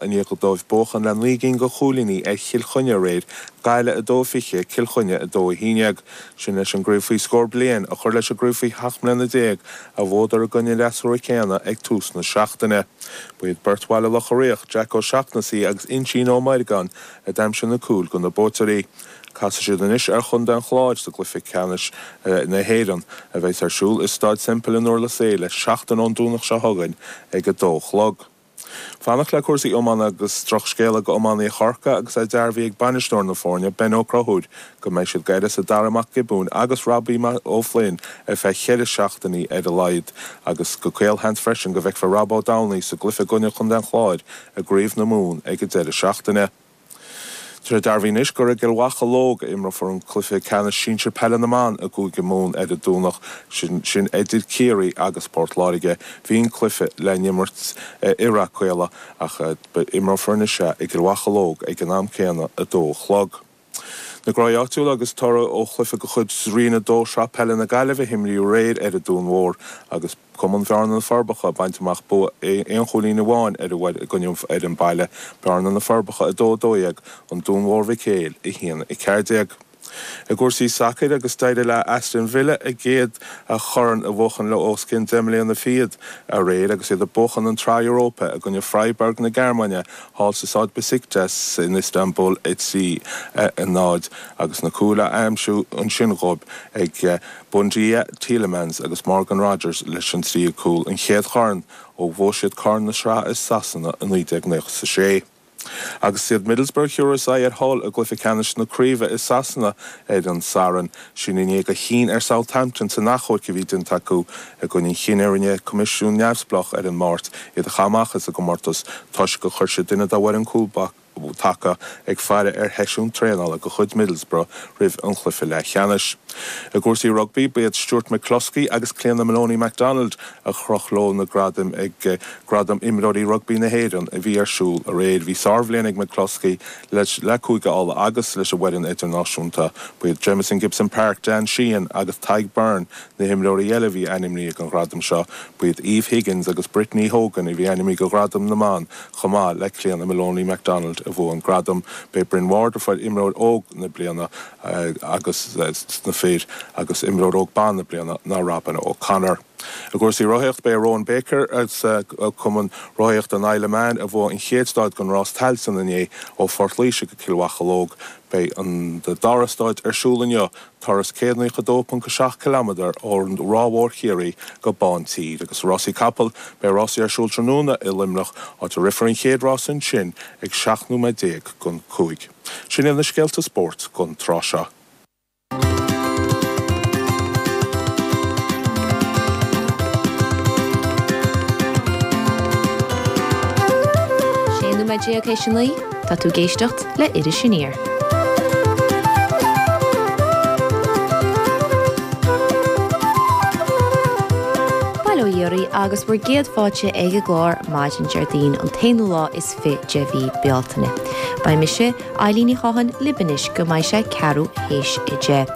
I ndiaidh dóibh buachan le 9 gcinn de chúilíní ar Chill Chainnigh aréir, Gaillimh 2-20, Cill Chainnigh 2-11. Sin leis an gcraobh faoi scór bliain a chur leis an gcraobh faoi sheacht mbliana déag a bhuadar i gcoinne an fhreasúra céanna ag tús na seachtaine. Ba iad beirt Bhaile Locha Riach, Jack Ó Seachnasaigh agus Uinsíonn Ó Meirgeáin a d'aimsigh na cúil do na buaiteoirí. Casfaidh siad anois ar chontae an Chláir sa gcluiche ceannais na hÉireann, a bheas ar siúl i Staid Semple in Durlas Éile seachtain ón Domhnach seo chugainn ag a dó a chlog. Fanacht le cúrsaí iomána agus drochscéala go iománaithe Chorcaí agus é dearbhaithe ag bainisteoir na foirne, Ben Ó Conchúir, go mbeidh siad d'uireasa Dara Mac Giobúin agus Robbie O'Flynn ar feadh cheithre seachtainí ar a laghad agus go caolsheans freisin go bhfeicfear Rob Ó Domhnaill sa gcluiche i gcoinne Chontae an Chláir i gCraobh na Mumhan ag an deireadh seachtaine. Tá sé dearbhaithe anois gur i gCill Mhocheallóg a imreofar an cluiche ceannais sinsir peile na mban i gCúige Mumhan ar an Domhnach sin, sin idir Ciarraí agus Port Láirge. Bhí an cluiche le n-imirt i Rath Caola ach imreofar anois é i gCill Mhocheallóg ag an am céanna, 2 a chlog. Na gnóthaí áitiúla agus toradh ó chluiche de chuid Roinn 2 Sraith Peile na Gaillimhe a himríodh aréir ar an Dún Mhór agus Cumann Bhearna na Forbacha ag baint amach bua aon chúilín amháin ar an i gcoinne fhoireann baile, Bearna na Forbacha 2, 12, An Dún Mhór Mhic Éil 1, 14. I gcúrsaí sacair agus d'éirigh le Aston Villa a gcéad chorn a bhuachan le os cionn deich mbliana fichead aréir agus iad ag buachan an tSraith Europa i gcoinne Freiburg na Gearmáine thall sa staid Besiktas in Istanbul 3, 0 agus na cúil á aimsiú ansin dhóibh ag Buendia, Tielemans agus Morgan Rogers leis an tríú cúl, an chéad chorn ó bhuaigh siad corn na sraithe i Sasana i 1996. Agus iad Middlesbrough a thiúrfas aghaidh ar Hull i gcluiche ceannais na craoibhe i Sasana ar an Satharn, sin i ndiaidh a chinn ar Southampton san achomharc a bhí déanta acu i gcoinne an chinnidh a rinne coimisiún neamhspleách ar an Máirt iad a chaitheamh amach as an gcomórtas toisc gur chuir siad duine dá bhfoireann cúl taca ag faire ar sheisiún traenála de chuid Middlesbrough roimh an chluiche leathcheannais. I gcúrsaí rugbaí, ba iad Stuart McCloskey agus Cliodhna Moloney MacDonald a chroch leo na gradaim ag Gradaim Imreoirí Rugbaí na hÉireann a bhí ar siúl aréir. Bhí sárbhliain ag McCloskey le Cúige Uladh agus leis an bhfoireann idirnáisiúnta. Ba iad Jamison Gibson-Park, Dan Sheehan agus Tadhg Beirne na himreoirí eile a bhí ainmnithe don ghradam seo. Ba iad Eve Higgins agus Brittany Hogan a bhí ainmnithe do ghradam na mban Chomh maith le Cliodhna Moloney MacDonald a bhuaigh an gradam, b'é Bryn Ward a fuair Imreoir Óg na Bliana agus sna fir agus Imreoir Óg Ban na Bliana ná Robyn O'Connor. I gcúrsaí rothaíochta b'é Rowan Baker as Cumann Rothaíochta an Isle of Man a bhuaigh an chéad stáid den rás Tailteann inné ó Phort Laoise go Cill Mhocheallóg. Beidh an dara stáid ar siúl inniu Turas 192.7 ciliméadar ó Ráth Mhór Chiarraí go Bántír. Agus rásaí capall, beidh rásaí ar siúl tráthnóna i Luimneach, áit a rithfear an chéad rás ansin ag 17 nóiméad don 5. Sin iad na scéalta spóirt don tráth seo. 16 nóiméad théis a 9, tá tú ag éisteacht le Iris Aniar. Bail ó Dhia oraibh agus bhur gcéad fáilte ag an gclár maidin Déardaoin an t-aonú lá is fi de mhí Bealtaine. Beidh mise, Eilín Ní Chatháin, libh anois go mbeidh sé ceathrú théis a 10.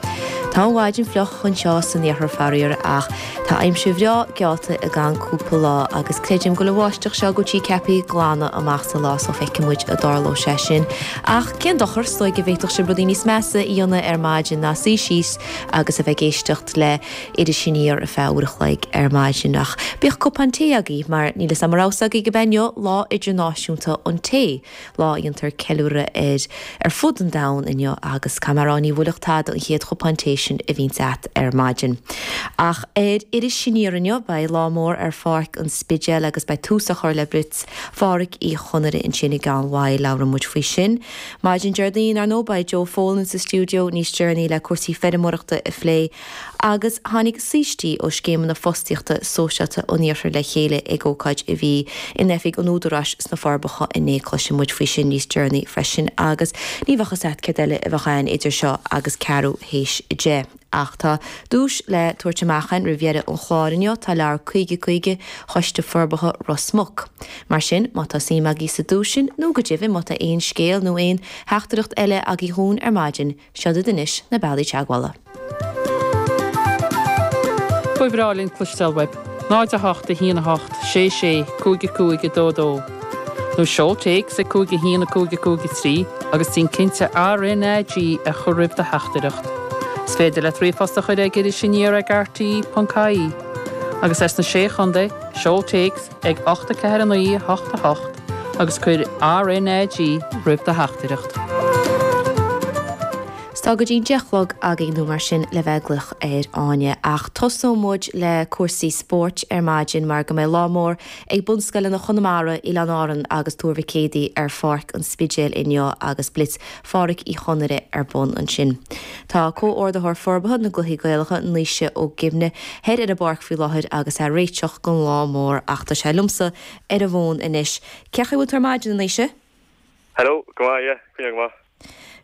Tá an mhaidin fliuch anseo san iarthar faraor ach Tá aimsir bhreá geallta i gceann cúpla lá agus creidim go bhfuil an bháisteach seo go bhfuil sí ceaptha glanadh amach sa lá so feicfidh muid an dtarlóidh sé sin. Ach cén dochar, is dóigh go bhféadfadh sibh rudaí níos measa a dhéanamh ar maidin ná suí síos agus a bheith ag éisteacht le Iris Aniar ar feadh uair a chloig ar maidin. Ach bíodh cupán tae agaibh mar níl 'fhios a'm an raibh 'fhios agaibh gurb é inniu Lá Idirnáisiúnta an Tae. Lá a dhéantar ceiliúradh air ar fud an domhain inniu agus caithfidh mé a rá ní bhuailfeadh tada an chéad chupán tae sin a bhíonns a't ar maidin. Ach ar Iris Aniar inniu beidh lá mór ar Pháirc an Spidéil agus beidh tús á chur le Blitz Phádraic Uí Chonaire ansin i gceann mhaidh, labhróidh muid faoi sin. Maidin Déardaoin, ar ndóigh, beidh Joe Folan sa stiúideo níos deireanaí le cúrsaí feirmeoireachta a phlé. Agus tháinig saoistí ó scéimeanna fostaíochta sóisialta an iarthair le chéile ag ócáid a bhí in oifig an Údaráis sna Forbacha inné. Cloisfidh muid faoi sin níos deireanaí freisin agus ní bheadh fhios a't céard eile a bheadh ann idir seo agus ceathrú théis a 10. Ach tá duais le tabhairt amach againn roimh dheireadh an chláir inniu, tá leabhar 50 50 Choiste Forbartha Ros Muc. Mar sin, má tá suim agaibh sa duais sin, nó go deimhin má tá aon scéal nó aon theachtaireacht eile agaibh dhúinn ar maidin, Seod iad anois na bealaí teagmhála. Ba bhreá linn cloisteáil uaibh. 0 8 1 8 6 6 5 5 2 2. Nó seol téacs ag 5 1 5 5 3 agus déan cinnte RnaG a chur roimh do theachtaireacht. Is féidir leat ríomhphost a chur ag irisaniar ag rte.ie. Agus as na Sé Chontae, seol téacs ag 8 4 9 8 8 agus cuir RnaG roimh do theachtaireacht. 'S tá go dtí'n 10 a chlog againn nó mar sin le bheith ag glaoch ar Áine. Ach tosóidh muid le cúrsaí spóirt ar maidin mar go mbeidh lá mór ag bunscoileanna Chonamara, Oileáin Árann agus Tuar Mhic Éadaigh ar Pháirc an Spidéil inniu agus Blitz Phádraic Uí Chonaire ar bun ansin. Tá Comhordaitheoir Forbartha na gCluichí Gaelacha, Naoise Ó Gibne, thoir ar an bpáirc faoi láthair agus é ag réiteach don lá mór ach tá sé liomsa ar an bhfón anois. Cén chaoi a bhfuil tú ar maidin, a Naoise? Hello, go maith, yeah, coinneáil go maith.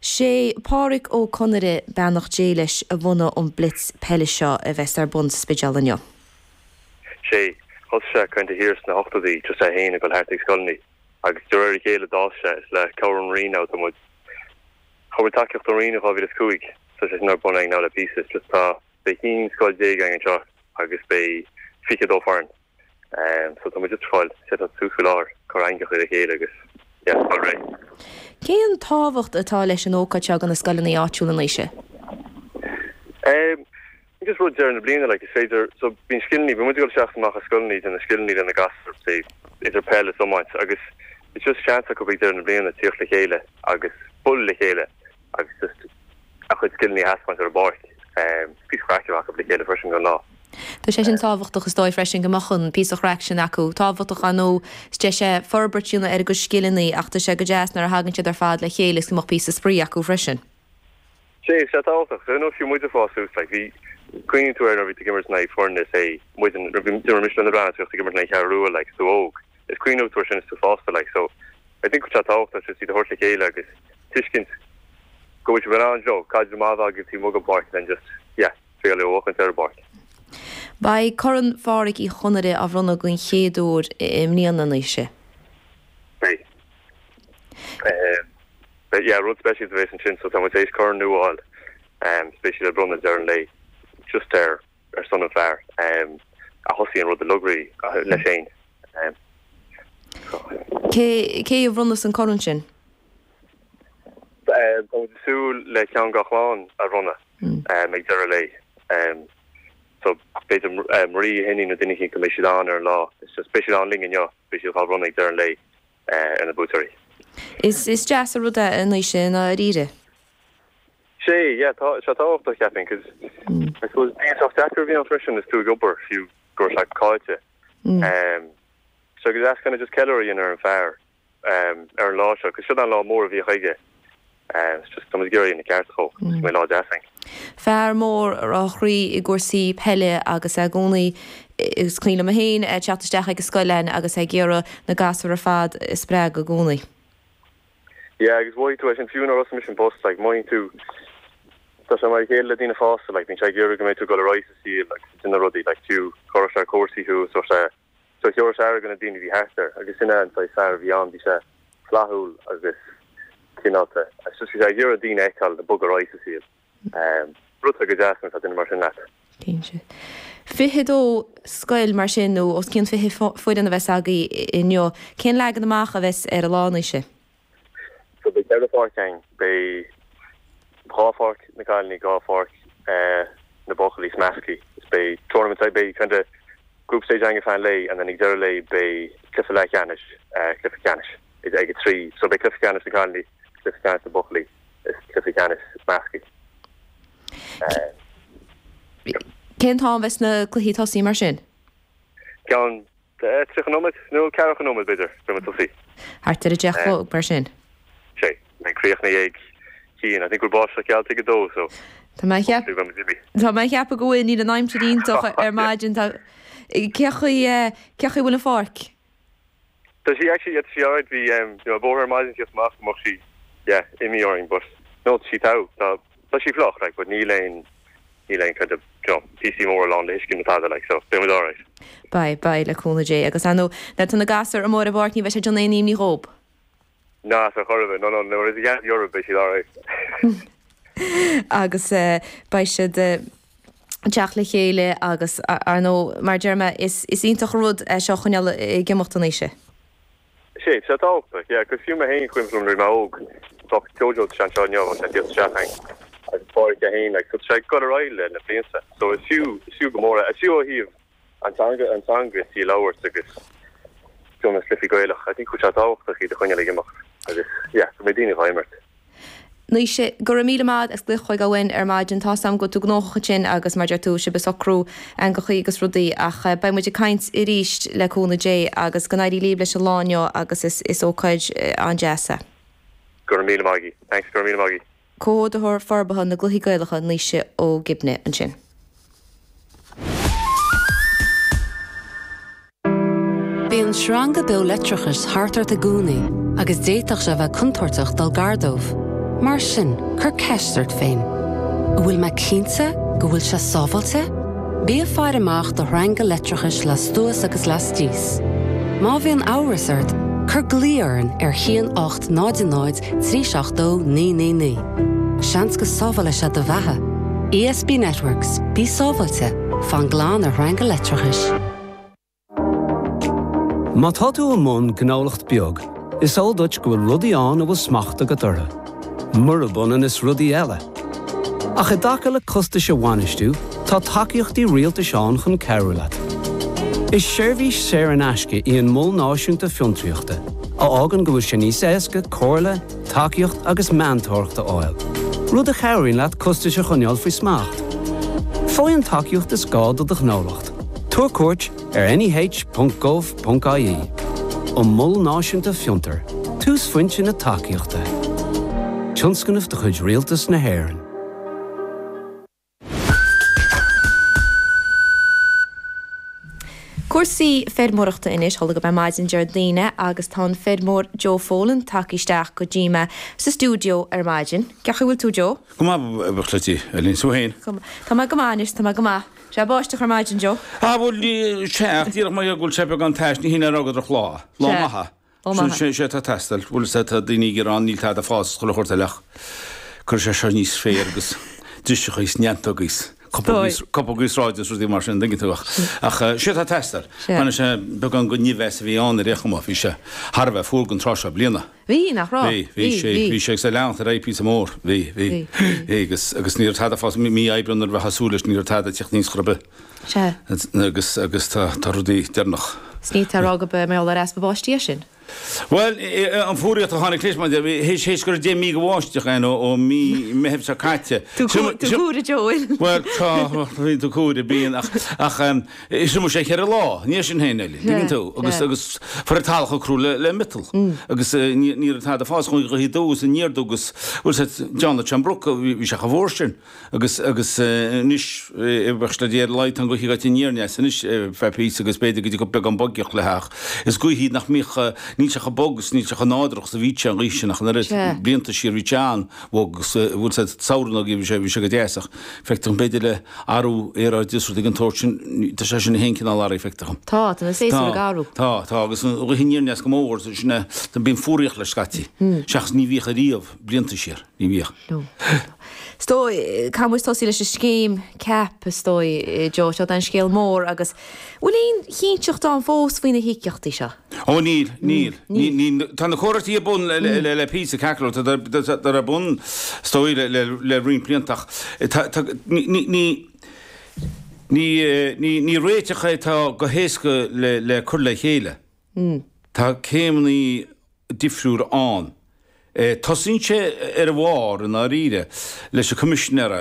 Sé Pádraic Ó Conaire, beannacht Dé leis, a bhunaigh an Blitz peile seo a bheas ar bun sa Spidéal inniu. Sé, thosaigh sé kind of thiar sna hochtóidí, just é féin ag dul thart ag scoileanna agus de réir a chéile d'fhás sé, is le cabhair ón Roinn now tá muid, fuair muid tacaíocht ón Roinn in 2005 so tá sé sin ar bun againn now le píosa, it's just tá, beidh 11 scoil againn anseo agus beidh 22 foireann. So tá muid just ag fáil set up suas faoi láthair, cur eangach le chéile agus yeah, fáil réidh. Cén tábhacht atá leis an ócáid seo do na scoileanna áitiúla, a Naoise? Em, just rud deireadh na bliana, like, is féidir, so bíonn scileanna, bíonn muid ag dul isteach is amach as scoileanna, ag déanamh scileanna le na gasúir, say, idir peil is iomáint agus it's just seans acu ag deireadh na bliana tíocht le chéile agus bualadh le chéile agus just a chuid scileanna a thaispeáint ar an bpáirc. Píosa craic a bheith acu le chéile freisin don lá. Tá sé sin tábhachtach is dóigh freisin go mbeadh an píosa craic sin acu. Tábhachtach ar ndóigh is deis é forbairt a dhéanamh ar a gcuid scileanna ach tá sé go deas nuair a thagann siad ar fad le chéile is go mbeadh píosa spraoi acu freisin. Sea, sé tábhachtach. So, you know, fiú muid ag fás suas, like, bhí, cuimhníonn tú air nuair a bhí tú ag imirt in aghaidh foirne, say, muid, nuair a bhí, d'imir mise le na Breathnaigh, ag imirt in aghaidh Cheathrú Rua, like, is tú óg. Is cuimhneoidh tú air sin is tú fásta, like, so I think go bhfuil sé tábhachtach just iad a thabhairt le chéile agus tuiscint go bhfuil sibh in ann, you know, caidreamh maith a bheith agaibh taobh amuigh den pháirc and then just, yeah, triail é a bhuachaint ar an bpáirc. Beidh Corn Phádraic Uí Chonaire á bhronnadh den chéad uair i mbliana, a Naoise. Beidh. Beidh, yeah, rud speisialta a bheas ansin, so tá muid tar éis corn nua a fháil, is beidh siad á bronnadh ag deireadh an lae just ar ar son an fear a thosaigh an rud uilig leis féin. Cé cé a bhronnfas an corn sin? Tá muid ag súil le ceann dá chlann a bhronnadh ag deireadh an lae. So b'fhéidir Marie a hiníon nó duine éicint go mbeidh siad ann ar an lá. It's just beidh siad ann linn inniu, beidh siad á bhronnadh ag deireadh an lae ar na buaiteoirí. Is is deas an rud é a Naoise i ndáiríre. Sea, yeah, tá sé tábhachtach, cheapfainn, 'cause I suppose bíonn sách deacair a bhí ann freisin is tú ag obair, fiú go raibh sé caillte. So go deas kind of just ceiliúradh a dhéanamh ar an fear ar an lá seo, 'cause seo an lá mór a bhíodh aige. It's just tá muid ag iarraidh a dhéanamh ceart dhó, go mbeidh lá deas againn. Fear mór a raibh a chroí i gcúrsaí peile agus é i gcónaí, is cuimhin liom féin é ag teacht isteach ag an scoil againn agus é ag iarraidh na gasúir ar fad a spreagadh i gcónaí. Yeah agus mhothaigh tú é sin fiú nuair a thosaigh mise an post like mothaíonn tú tá sé mar a chéile le daoine fásta like bíonn sé ag iarraidh go mbeidh tú ag dul ar aghaidh sa saol agus ag déanamh rudaí like fiú chuirfeadh sé ar cúrsaí thú is sé so thabharfadh sé aire do na daoine a bhí thart air agus sin é an saghas fear a bhí ann bhí sé flaithiúil agus cineálta agus just bhí sé ag iarraidh daoine a fheiceáil ag bogadh ar aghaidh sa saol um rud atá go deas nuair atá duine mar sin leat. Cinnte. 22 scoil mar sin nó os cionn 20 foireann a bheas agaibh inniu. Cén leagan amach a bheas ar an lá, a Naoise? So beidh ceithre pháirc againn. Beidh dhá pháirc na cailíní, dhá pháirc na buachaillí is measctha. Is beidh tournament side, beidh kind of group stage againn ar feadh an lae and then ag deireadh lae beidh cluiche leathcheannais, cluiche ceannais ag a trí. So beidh cluiche ceannais na cailíní, cluiche ceannais na buachaillí is cluiche ceannais measctha. Cén t-am a bheas na cluichí ag tosaí mar sin? Ceann 30 nóiméad nó ceathracha nóiméad b'fhéidir beidh muid ag tosaí. Thart ar a deich a chlog mar sin? Sé, beidh críochnaithe ag haon. I think go bhfuil báisteach geallta ag a dó so Tá mé ag hopefully beidh muid imithe. Tá mé ag ceapadh go bhfuil, níl an aimsir iontach ar maidin. Tá, cé chaoi, cé chaoi a bhfuil an pháirc? Tá sí actually, yeah, tá sí alright, bhí em, you know, bóthar ar maidin síos amach go mbeadh sí, yeah, imithe orainn but no, tá sí togha, tá, tá sí fliuch, like, but níl aon, níl aon kind of, you know, píosaí móra lán le huisce nó tada, like, so beidh muid alright. Beidh, beidh, le cúnamh Dé. Agus ar ndóigh, nuair atá na gasúir amuigh ar an bpáirc ní bheidh sé ag déanamh aon imní dhób. Ná, ar chor ar bith, no, no, nuair is a gheansaí orthu beidh siad alright. Agus beidh siad ag teacht le chéile agus ar ndóigh, mar a deir mé, is iontach an rud é seo a choinneáil ag imeacht a Naoise. Sé, tá sé tábhachtach, yeah, 'cause fiú mé féin, cuimhin liom nuair a bhí mé óg, bheadh Jojo tá sé anseo inniu, bheadh sé ag tíocht isteach againn agus Pádraic é féin, like, so tá sé ag dul ar aghaidh le na blianta, so is fiú, is fiú go mór é, is fiú ó thaobh an teanga, an teanga is í a labhairt agus fiú na cluichí Gaelach, I think go bhfuil sé tábhachtach iad a choinneáil ag imeacht agus, yeah, go mbeidh daoine dhá imirt. Naoise, Go raibh míle maith as glaoch chugainn uainn ar maidin. Tá's a'm go bhfuil tú gnóthach ansin agus mar deir tú, sibh ag socrú eangachaí agus rudaí ach beidh muid ag caint arís le cúnamh Dé agus go n-éirí libh leis an lá inniu agus is is ócáid an-deas é. Go raibh míle maith agaibh. Thanks, go raibh míle maith agaibh. Comhordaitheoir Forbartha na gCluichí Gaelacha, Naoise Ó Gibne ansin. Bíonn sreanga beo leictreachais thart ort i gcónaí agus d'fhéadfadh sé a bheith contúirteach dul gar dóibh. Mar sin, cuir ceist ort féin, An bhfuil mé cinnte go bhfuil sé sábháilte? Bí ag faire amach do shreanga leictreachais lastuas agus lastíos. Má bhíonn amhras ort, cuir glao orainn ar 1 8 0 0 3 7 2 9 9 9. Seans go sábhálfaidh sé do bheatha. ESB Networks, bí sábháilte, fan glan ar shreanga leictreachais. Má tá tú i mbun gnólacht beag, is eol duit go bhfuil rudaí ann a bhfuil smacht agat orthu, murab ionann is rudaí eile. Ach i dtaca le costais a bhainistiú, tá tacaíochtaí rialtais ann chun cabhrú leat. Is seirbhís saor in aisce í an Mol Náisiúnta Fiontraíochta, a fhágann go bhfuil sé níos éasca comhairle, tacaíocht agus meantóireacht a fháil, rud a chabhraíonn leat costais a choinneáil faoi smacht. Faigh an tacaíocht is gá do do ghnólacht. Tabhair cuairt ar neh.gov.ie. An Mol Náisiúnta Fiontar, túsphointe na tacaíochta. Tionscnamh de chuid Rialtas na hÉireann. Cúrsaí feirmeoireachta anois, tharla gurb é maidin Déardaoin é agus tá an feirmeoir Joe Folan tagtha isteach go dtí mé sa stiúideo ar maidin. Cén chaoi a bhfuil tú Joe? Go maith, a Chleití, Eileen, 's tú féin? Tá mé go maith anois, tá mé go maith. Sé báisteach ar maidin, Joe. Ah, bhuel, ní, sea, ach díreach mar go bhfuil sé beagán tais, ní hin é a rá gur drochlá. Lá Sea. maith é. Lá maith é. Sin, sé atá ag teastáil. Bhuel, sea, tá daoine ag gearán, níl tada ag fás is chuile shórt eile ach cuirfidh sé seo aníos féar agus driseacha is neantógaí is copógaí is, copógaí sráide is rudaí mar sin, an dtuigeann tú ach, ach sé atá ag teastáil. Sea. Baineann sé beagán den nimheas a bhí ann ar aon chuma, bhí sé thar a bheith fuar don tráth seo bliana. Bhí, nach raibh? Bhí, bhí sé, bhí sé agus é leanacht ar aghaidh píosa mór. Bhí, bhí, bhí agus, agus ní raibh tada ag fás, mí Aibreán nuair a bheifeá ag súil leis, ní raibh tada ag tíocht aníos chor ar bith. Sea. Agus, agus tá, tá rudaí deireanach. 'S ní tá a rá go mbeidh mar gheall ar easpa báistí é sin. Bhuel, an fuaraíocht a tháinig leis, mar théis, théis go raibh 10 mí de bháisteach ann ó, ó mí Meithimh seo caite. Tú cúire, Joe. Bhuel, tá, bhí tú cúire, bíonn, ach, ach, Thriomaigh sé cheithre lá, ní sin féin eile, tuigeann tú, agus agus fuair an talamh chomh crua le le miotal agus ní ní raibh tada ag fás chuaigh an ghaoth aduaidh is aniar aduaidh agus bhuel sea John John Brook bhí sé chomh fuar sin agus agus anois bheadh le Dia ar a laghad tá an ghaoth ag goil aniar aneas anois feadh píosa agus b'fhéidir go dtiocfadh beagán boigeacht léi ach is gaoth í nach mbíodh níl sé chomh bog is níl sé chomh nádúrach is a bhí sé an ghaoth sin ach an oiread blianta siar bhí sé an-bhog agus bhuel sea samhradh nó bhí sé bhí sé go deas ach Feictear dom, b'fhéidir le athrú aeráide is rudaí den tsórt sin, tá sé sin féin cineál athraithe, feictear dom. Tá, tá na séasúir ag athrú. Tá, tá, agus an ghaoth aniar aneas go mór, sin é, bíonn fuaraíocht leis scaití, seachas ní bhíodh ariamh, blianta siar, ní bhíodh. No. Is dóigh, caithfidh muid tosaí leis an scéim CAP, is dóigh, Joe, seo an scéal mór agus bhfuil aon chinnteacht ann fós faoi na híocaíochtaí seo? Ó níl, níl, níl, tá na comhráití ar bun le le píosa ceart go leor, tá ar bun is dóigh le le le roinnt blianta ach tá tá ní ní ní ní ní ní réiteach é atá go héasca le le cur le chéile. Tá céimeanna difriúil ann. Tosaíonn sé ar a bharr, i ndáiríre, leis an Coimisinéir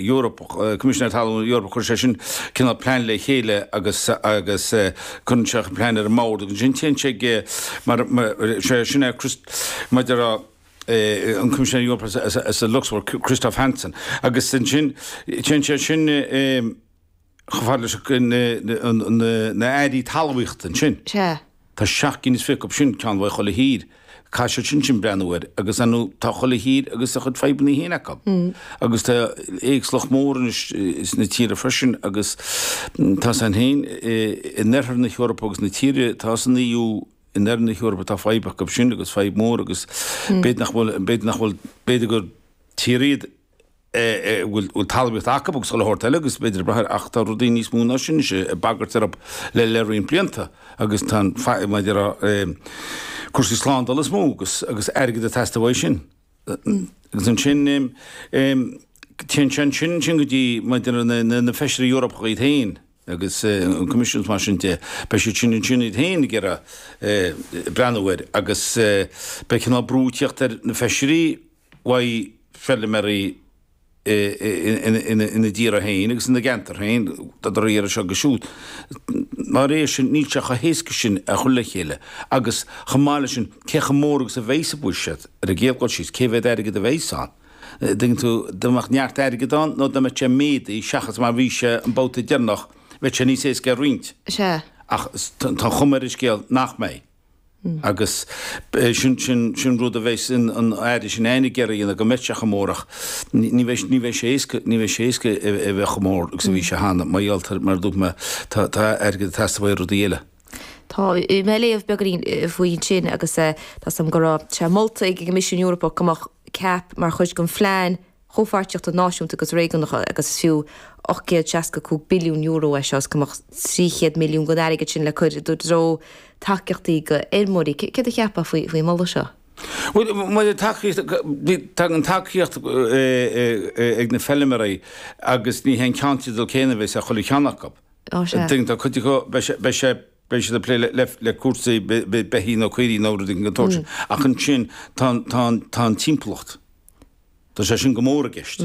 Eorpach, Coimisinéir Talún Eorpach, cuireann sé sin cineál plean le chéile agus agus cuireann sé an plean ar an mbord agus ansin téann sé ag mar sé sin é Chris mar a déarfá an Coimisinéir Eorpach as an Lucsamburg, Christophe Hansen agus ansin téann sé sin chomh fada leis na airí talmhaíochta ansin. Sea. Tá 27 acu sin, ceann uaidh chuile thír. Caithfidh siad sin sin breathnú air agus ar ndóigh tá chuile thír agus a chuid fadhbanna féin acu. Agus tá éagsúlacht mhór anois sna tíortha freisin agus tá san féin in oirthear na hEorpa agus na tíortha atá san EU in oirthear na hEorpa tá fadhb acu sin agus fadhb mhór agus b'fhéidir nach bhfuil, b'fhéidir nach bhfuil, b'fhéidir gur tír iad. A bhfuil talmhaíocht acu agus chuile shórt eile agus b'fhéidir ag brath air ach tá rudaí níos mó ná sin anois ag bagairt orthu le le roinnt blianta agus tá an mar a déarfá cúrsaí slándála is mó agus agus airgead ag teastáil uaidh sin. Agus ansin téann sé ansin ansin go dtí mar a déarfá na na feisirí Eorpacha iad féin agus an Coimisiún is mar sin de beidh siad sin ansin iad féin ag iarraidh breathnú air agus beidh cineál brú ag tíocht ar na feisirí uaidh feilméaraí ina dtíortha féin agus ina gceantar féin, tá siad á iarraidh seo agus siúd. Dá réir sin, níl sé chomh héasca sin a chur le chéile agus chomh maith leis sin, cé chomh mór agus a bheidh sa bhuiséad ar an gcéad dul síos, cé mhéad airgead a bheidh ann? Tuigeann tú, dá mbeadh neart airgid ann nó dá mbeadh sé méadaithe seachas mar bhí sé an babhta deireanach, bheadh sé níos éasca a roinnt. Sea. Ach tá an chuma ar an scéal nach mbeidh. Agus sin, sin, sin rud a bheas an Aire sin fhéin ag iarraidh a dhéanamh go mbeidh sé chomh mór ach ní bheidh, ní bheidh sé éasca, ní bheidh sé éasca a bheith chomh mór agus a bhí sé cheana mar gheall ar, mar a dúirt mé, tá, tá airgead ag teastáil uaidh rudaí eile. Tá mé ag léamh beagáinín faoi ansin agus tá 's agam go raibh sé molta ag an gCoimisiún Eorpach go mbeadh CAP mar chuid den phlean chomhpháirtíochta náisiúnta agus réigiúnacha agus is fiú €865 billiún é seo is go mbeadh 300 milliún den airgead sin le cur i dtreo tacaíochtaí go fheirmeoirí. Céard a cheapfá faoin moladh seo? Bhuel, maidir le tacaíocht, tá an tacaíocht ag na feilméaraí agus ní hé an ceannteideal céanna a bheas ar chuile cheann acu. Ó sea. Tá cuid acu, beidh sé, beidh siad ag plé le cúrsaí beithígh nó caoirigh nó rudaí den tsórt sin. Ach ansin tá an timpeallacht. Tá sé sin go mór i gceist.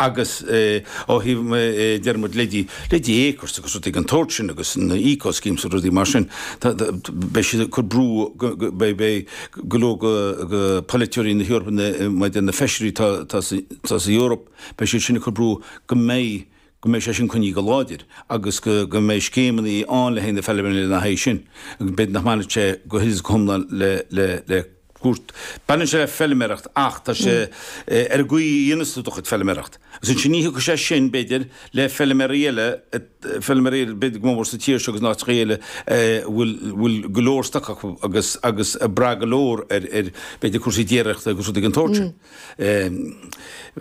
Agus ó thaobh, deir muid, leithéidí, leithéidí Acres agus rudaí den tsórt sin agus na eco schemes agus rudaí mar sin, beidh siad ag cur brú, beidh, beidh go leor de pholaiteoirí na hEorpa, maidir na feisirí atá sa Eoraip, beidh siad sin ag cur brú go mbeidh, go mbeidh sé sin coinnithe go láidir agus go go mbeidh scéimeanna ann le haghaidh na feilméaraí lena haghaidh sin. B'fhéidir nach mbainfidh sé go huile is go hiomlán le le le cúirt. Baineann sé le feilméaracht ach tá sé ar an gcaoi a dhéanas tú do chuid feilméaracht. Agus ansin ní thiocfaidh sé sin, b'fhéidir, le feilméaraí eile, feilméaraí eile, b'fhéidir go mór sa tír seo agus in áiteacha eile a bhfuil bhfuil go leor stoc acu agus agus ag brath go leor ar ar b'fhéidir cúrsaí déiríochta agus rudaí den tsórt sin.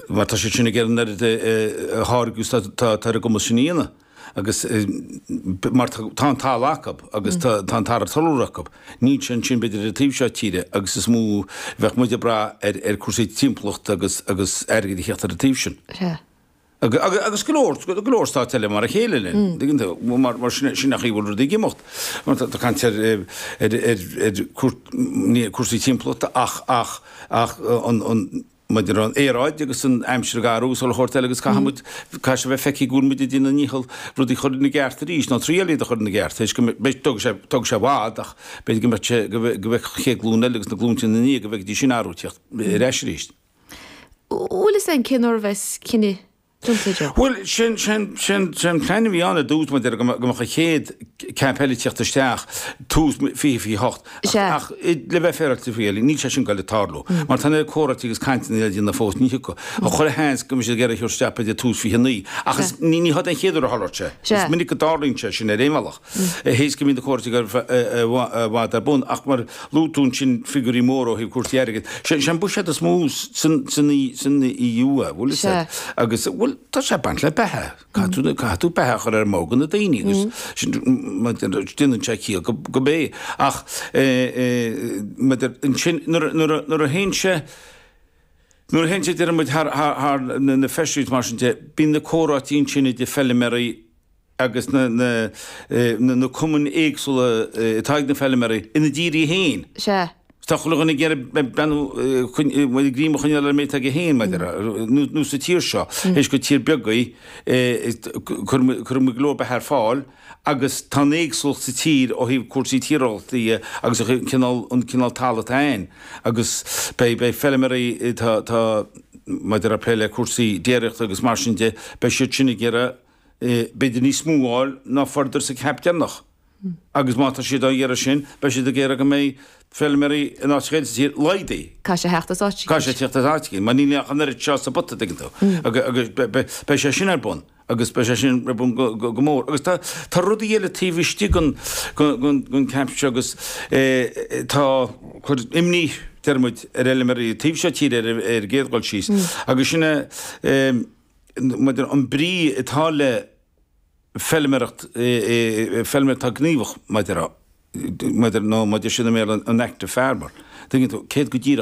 Mar tá siad sin ag iarraidh an oiread a tháirgeadh is atá ar a gcumas sin a dhéanamh. Agus mar tá an talamh acu agus tá an talamh acu. Níl sé ansin b'fhéidir ar an taobh seo tíre agus is mó bheadh muid ag brath ar cúrsaí timpeallachta agus agus airgead a theacht ar an taobh sin. Sea. Agus go leor, go leor stáit eile mar a chéile linn, tuigeann tú, mar mar sin sin an chaoi a bhfuil rudaí ag imeacht. Mar tá caint ar ar ar ar ní cúrsaí timpeallachta ach ach ach an an maidir an aeráid agus an aimsir ag athrú agus chuile shórt eile agus caithfidh muid caithfidh sé bheith feicthe go bhfuil muid ag déanamh a ndícheall rudaí a chur ina gceart arís nó triail iad a chur ina gceart théis go mbeidh tógfaidh sé tógfaidh sé i bhfad ach b'fhéidir go mbeadh sé go mbeidh an chéad ghlúin eile agus na glúnta ina ndiaidh go bhfeicfidís sin athrú teacht ar ais arís. Bhfuil fhios a'inn cén uair a bheas cinneadh déanta, Joe? Bhuel, sin, sin, sin, sin plean a bhí ann ar dtús, mar a déarfá, go mbeadh an chéad cap eile ag teacht isteach tús 2028. Sea. Ach, le bheith féaráilte faoi, níl sé sin ag goil ag tarlú. Mar tá an oiread comhráití agus cainteanna le déanamh fós, ní thiocfadh. Ach chuile sheans go mbeidh siad ag iarraidh a thabhairt isteach b'fhéidir tús 29. Ach is, ní, ní hé an chéad uair a tharlódh sé. Sea. Is minic go dtarlaíonn sé sin ar aon bhealach. Théis go mbíonn na comhráití i bhfad ar bun. Ach mar luaigh tú ansin figiúirí móra ó thaobh cúrsaí airgid. Sé an buiséad is mó san EU é, bhfuil fhios a'd. Agus, bhuel, tá sé ag baint le beatha. Caithfidh tú, caithfidh tú beatha a chur ar an mbord do na daoine agus sin, déanann sé ciall go b'é. Ach, maidir, ansin, nuair, nuair, nuair a théann sé, nuair a théann sé, deir muid, thar, thar, thar na feisirí mar sin de, bíonn na comhráití ansin idir feilméaraí, agus na na cumainn éagsúla atá ag na feilméaraí ina dtíortha féin. Sea. Tá chuile dhuine ag iarraidh breathnú, greim a choinneáil ar an méid atá aige féin, maidir nó sa tír seo, théis gur tír beag í, cuireann muid go leor beatha ar fáil agus tá an éagsúlacht sa tír ó thaobh cúrsaí tíreolaíochta dhe agus an cineál an cineál talaimh atá ann agus beidh beidh feilméaraí atá atá maidir le plé le cúrsaí déiríochta agus mar sin de, beidh siad sin ag iarraidh b'fhéidir níos mó a fháil ná fuaireadar sa cap deireanach. Agus má tá siad á iarraidh sin, beidh siad ag iarraidh go mbeidh feilméaraí in áiteacha eile sa tír laghdaithe. Caithfidh sé theacht as áit eicínt. Caithfidh sé teacht as áit eicínt, mar níl ach an oiread seo sa bpota, tuigeann tú. Agus beidh sé sin ar bun, agus beidh sé sin ar bun go mór. Agus tá tá rudaí eile taobh istigh den den cap seo agus tá cur imní. deir muid, ar fheilméaraí taobh seo tíre ar an gcéad dhul síos. Agus sin é maidir an brí atá le feilméaracht, feilméara atá gníomhach maidir, maidir nó maidir sin i mBéarla an active farmer. Tuigeann tú, céard go díreach.